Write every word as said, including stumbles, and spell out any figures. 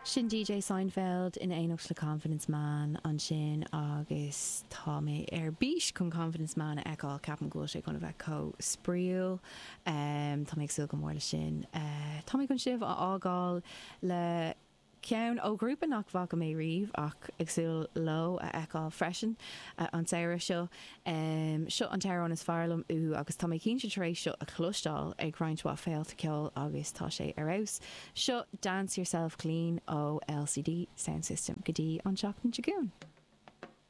Sin DJ Seinfeld in éineacht le Confidence Man ansin agus tá mé ar bís chun Confidence Man a fheiceáil ceapaim go bhfuil sé chun a bheith chomh spraíúil um, Tá mé ag súil go mór le sin. Uh, tá mé chun sibh a fhágáil le ceann ó ghrúpa nach bhfaca mé riamh ach ag súil leo a fheiceáil freisin uh, an samhradh seo. Um, seo an t-amhrán is fearr liom uathu agus tá mé cinnte tar éis seo a chloisteáil ag roinnt mhaith féilte ceoil agus tá sé ar fheabhas. Seo Dance Yourself Clean ó LCD Soundsystem go dtí an seachtain seo chugainn.